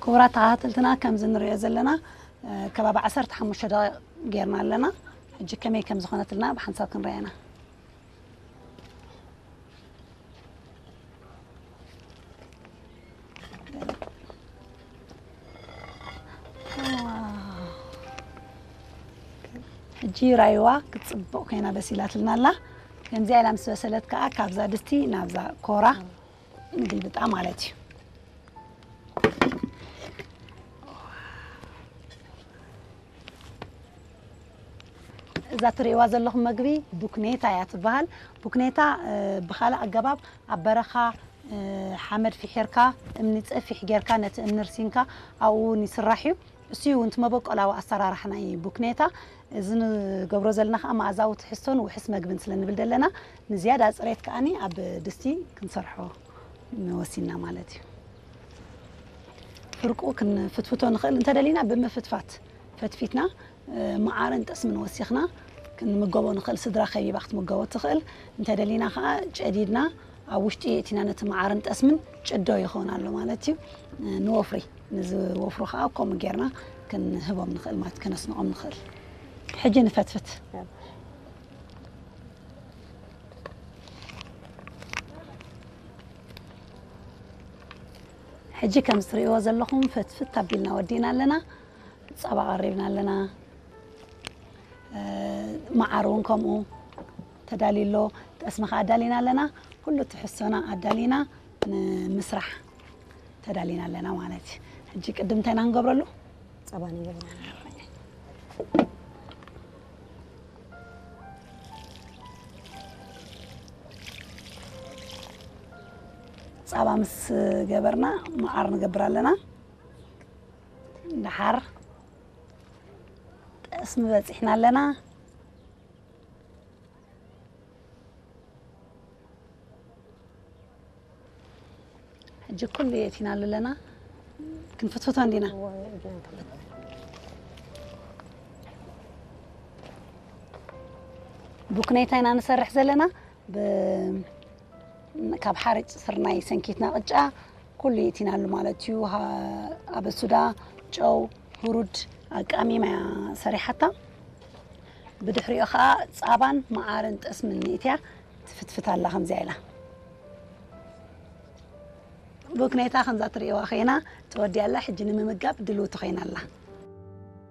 ክቡራት ተኸታተልትና፣ ከምዚ ንሪኦ ዘለና ከባቢ ዓሰርተ ሓሙሽተ ደቂቕ ጌርና ኣለና። ሕጂ ከመይ ከም ዝኾነትልና ብሓንሳብ ክንሪኣ ኢና። ሕጂ ራይዋ ክትፅብቕ ኮይና በሲላትልና ኣላ። ከምዚኣ ኢላ ምስ በሰለት ከዓ ካብዛ ድስቲ ናብዛ ኮራ ንግልብጣ ማለት እዩ። እዛ ትርእይዋ ዘለኹም መግቢ ቡክኔታ እያ ትበሃል። ቡክኔታ ብኻልእ ኣገባብ ኣብ በረኻ ሓመድ ፊሒርካ እምኒ ፀፊሕ ጌርካ ነቲ እምኒ ርሲንካ ኣብኡ እውን ይስራሕ እዩ። እሱ እውን እቲ መበቆላዊ ኣሰራርሓ ናይ ቡክኔታ። እዚ ንገብሮ ዘለና ከዓ መኣዛዊ ትሕዝቶን ውሕስ መግብን ስለ ንብል ዘለና ንዝያዳ ፅሬት ከዓኒ ኣብ ድስቲ ክንሰርሖ ወሲንና ማለት እዩ። ፍርቁ ክንፍትፍቶ ንኽእል እንተደሊና ብምፍትፋት ፈትፊትና መዓርን ጠስምን ወሲኽና ክንምገቦ ንኽእል። ስድራ ከቢባ ክትምገቦ ትኽእል። እንተደሊና ከዓ ጨዲድና ኣብ ውሽጢ የእቲና ነቲ መዓርን ጠስምን ጭዶ ይኸውን ኣሎ ማለት እዩ። ንወፍሪ ንዝወፍሩ ከዓ ከምኡ ጌርና ክንህቦም ንኽእል ማለት ከነስንቖም ንኽእል። ሕጂ ንፈትፍት። ሕጂ ከም እትርእይዎ ዘለኹም ፍትፍት ኣቢልና ወዲእና ኣለና። ጸባ ቀሪብና ኣለና። መዓር እውን ከምኡ ተዳልዩ ኣሎ። ጠስሚ ከዓ ኣዳሊና ኣለና። ኩሉ ትሕዝቶና ኣዳሊና ንምስራሕ ተዳሊና ኣለና ማለት እዩ። ሕጂ ቅድም እንታይ ኢና ክንገብረሉ? ጸባ ንገብረሉ። ጸባ ምስ ገበርና መዓር ንገብር ኣለና። ደሓር ጠስሚ በጺሕና ኣለና። ሕጂ ኩሉ የእቲናሉ ኣለና። ክንፍትፍቶ እንዲና። ቡክኔታ ኢና ንሰርሕ ዘለና። ብ-፣ ካብ ሓርጭ ስርናይ ሰንኪትና ቅጫ ኩሉ የእቲናሉ ማለት እዩ። ሃ-፣ ኣበሱዳ፣ ጨው፣ ሁሩድ ኣቃሚማ እያ ሰሪሓታ። ብድሕሪኡ ከዓ ፃባን መዓርን ጠስምን ንእትያ ትፍትፍት ኣላ ከምዚኣ ኢላ። ቡክኔታ ከምዛ ትርእይዋ ኮይና ተወዲኣ ኣላ። ሕጂ ንምምጋብ ድልውቲ ኮይና ኣላ።